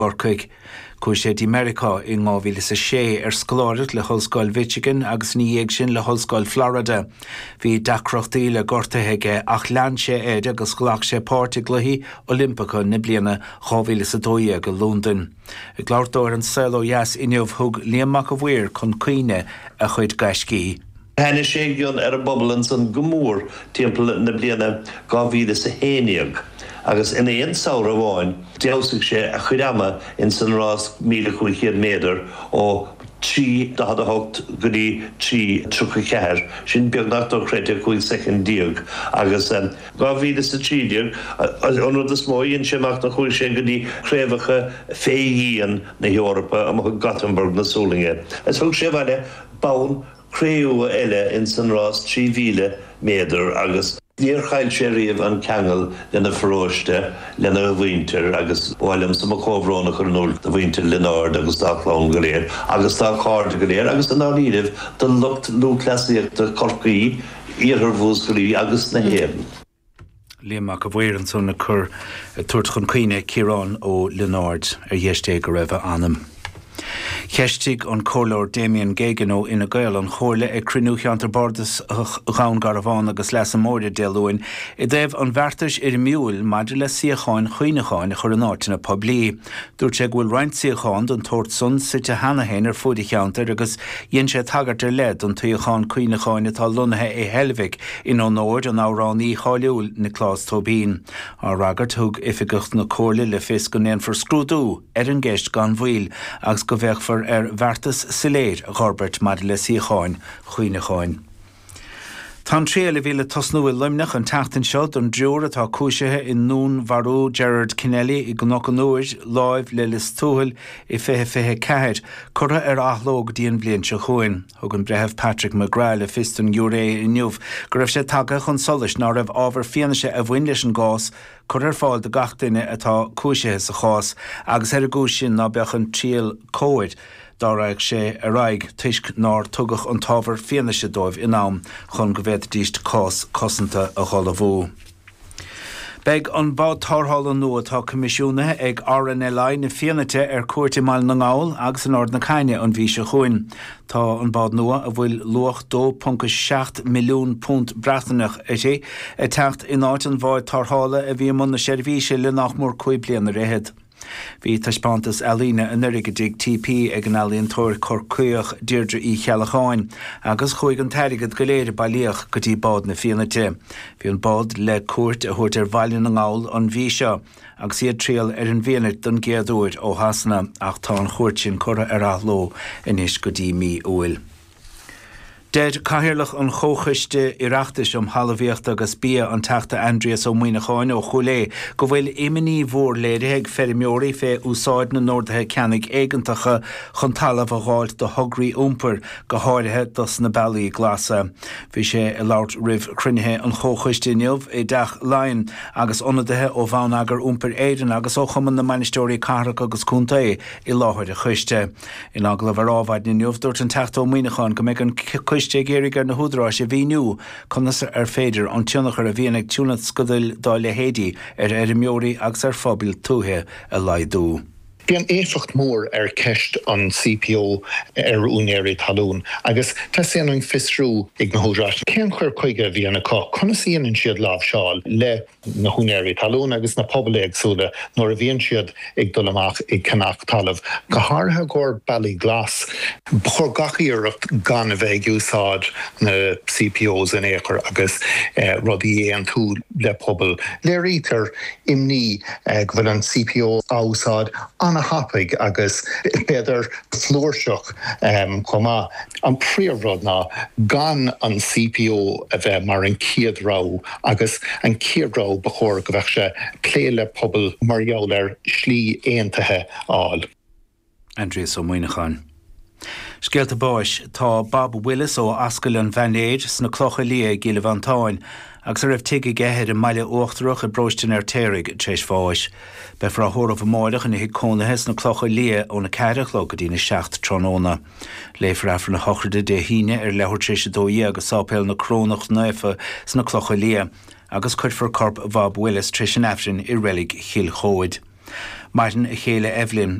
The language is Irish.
gCorcaigh. Chuaigh sé dtí Meiriceá in 2006 ar scoláireacht le hOllscoil Mhichigan agus ina dhiaidh sin le hOllscoil Florida. Bhí deacrachtaí le gortuithe aige ach lean sé air agus ghlac sé páirt i gCluichí Oilimpeacha na bliana 2012 i Londain. Ag labhairt dó ar An Saol Ó Dheas inniu thug Liam Mac a' Mhaoir chun cuimhne a chuid gaiscí. Thaitnigh sé i gcion ar an bpobal ansan go mór timpeall na bliana 2011 agus in aon samhradh amháin d'fheabhsaigh sé a chuid ama ins an rás 1,500 méadar ó 3:48 go dtí 3:34, sin beagnach dochreidte, 15 soicind agus 2013 an rud is mó a dhein sé amach ná chuaigh sé go dtí craobhacha fé dhíon na hEorpa amuigh i Gothenburg na Sualainne is thug sé abhaile bonn cré-umha eile ins an rás 3,000 méadar agus níor chaill sé riamh an ceangal lena pharóiste, lena mhuintir agus ba mhaith liomsa mo chomhbhrón a chur in iúl do mhuintir Lionáird agus dá chlann go léir agus dá chairde go léir agus i ndáiríribh do lucht lúthchleasaíochta Chorcaí, Iarthar Mhúscraí agus na hÉireann. Liam Mac a' Mhaoir ansan ag cur, ag tabhairt chun cuimhne Ciarán Ó Lionáird, ar dheis Dé go raibh a anam. Cheistigh an Comhairleoir Damien Geoghegan ó Fhine Gael an Chomhairle ag cruinniú Cheantar Bardasach Dhún Garbhán agus Leasa Móire Dé Luain i dtaobh an bheartais fhoirmiúil maidir le suíocháin chuimhneacháin a chur in áiteanna poiblí. Dúirt sé go bhfuil roinnt suíochán den tsórt san suite cheana féin ar fuaid an cheantair agus dhein sé tagairt ar leith don tsuíochán cuimhneacháin atá lonnaithe i Heilbhic in onóir an amhránaí cháiliúil Nioclás Tóibín. Á fhreagairt, thug oifigeach na Comhairle le fios go ndéanfar scrúdú ar an gceist gan mhoill agus go bhféachfar ar bheartas soiléir a dh'fhorbairt maidir le suíocháin chuimhneacháin. Tá an triail a bhí le tosnú i Luimneach an tseachtain seo don dtriúr atá cúisithe i ndúnmharú Gerard Kennelly i gCnoc an Iúir, láimh le Lios Tuathail i 2024, curtha ar athló go dtí an bhliain seo chugainn. Thug an Breitheamh Patrick McGrath le fios don ghiúiré inniu go raibh sé tagtha chun solais ná raibh ábhar fianaise a bhain leis an gcás curtha ar fáil do gach duine atá cúisithe sa chás agus ar an gcúis sin ná beadh an triail cóir dá raghadh sé ar aghaidh toisc nár tugadh an t-ábhar fianaise dóibh in am chun go bhféadfaidís cás cosanta a dh'ullmhú. Beidh an bád tarrthála nua atá coimisiúnaithe ag RNLI na Fianaite ar cuairt i mBaile na nGall agus in Ard na Caithne an mhí seo chugainn. Tá an bád nua, a bhfuil luach £2.7 milliún Breatnaineach uirthi, ag teacht in áit an bháid tarrthála a bhí i mbun na seirbhíse le nach mór 5 bliana ar fhichead. Bhí taispeántas ealaíne anuraidh i dTigh TP ag an ealaíontóir Corcaíoch Deirdre Uí Cheallacháin agus chuaigh an t-airgead go léir a bailíodh go dtí Bád na Fianaite. Bhí an bád le cuairt a thabhairt ar Bhaile na nGall an mhí seo agus í ag triall ar an bhFianait don gcéad uair ó Shasana ach tá an chuairt sin curtha ar athló anois go dtí mí Iúil. Deir Cathaoirleach an Chomhchoiste Oireachtais um Thalmhaíocht agus Bia, an Teachta Aindrias Ó Muimhneacháin ó Chúil Aodha, go bhfuil imní mhór léirithe ag feirmeoirí fé úsáid na n-orduithe ceannaigh éigeantacha chun talamh a dh'fháilt do thograí iompair, go háirithe dos na bealaí glasa. Bhí sé ag labhairt roimh chruinnithe an Chomhchoiste inniu i dTeach Laighean agus ionadaithe ó Bhonneagar Iompair Éireann agus ó Chumann na mBainisteoirí Cathrach agus Contae i láthair an choiste. In agallamh ar Adhmhaidin inniu, dúirt an Teachta Ó Muimhneacháin go mbeidh an coiste ag iarraidh ar na húdaráis a mhíniú conas ar féidir an tionchar a bhíonn ag tionscadail dá leithéidí ar fheirmeoirí agus ar phobail tuaithe a laghdú. Bíonn éifeacht mór ar ceist an CPO ar úinéirí talún agus teastaíonn uainn fiosrú ag na húdaráis cén cur chuige a bhíonn acu, conas a dhéanann siad láimhseáil le na húinéirí talún agus na pobail éagsúla nuair a bhíonn siad ag dul amach ag ceannach talaimh, go háirithe i gcomhair bealaí glas. Ba chóir gach iarracht gan a bheith ag úsáid na CPOs in aon chor agus rudaí a aontú le pobail. Léirítear imní go bhfuil an CPO á úsáid an-thapaidh agus b'fhéidir flúirseach chomh maith. An príomhrud ná gan an CPO a bheith mar an chéad rogha Agus an chéad rogha ba chóir go bheadh sé plé le pobal mar gheall ar shlí aontaithe a fháil. Aindrias Ó Muimhneacháin. Scéalta báis. Tá Bob Willis ó Ascaill an Mhainéir sna Clocha Liath i gCill Mhantáin agus a raibh tigh aige ar an mBaile Uachtarach i bparóiste an Fheirtéaraigh tar éis bháis. Beifear á thórramh amáireach ina thigh cónaithe sna Clocha Liath óna 4 a chlog go dtína 7 tráthnóna. Léifear Aifreann a shochraide Dé hAoine ar leathuair tar éis 12 i Sáipéal na Corónach Naofa sna Clocha Liath agus cuirfear corp Bhob Willis tar éis an Aifrinn i Reilig Chill Chomhaid. Maireann a chéile Evelyn.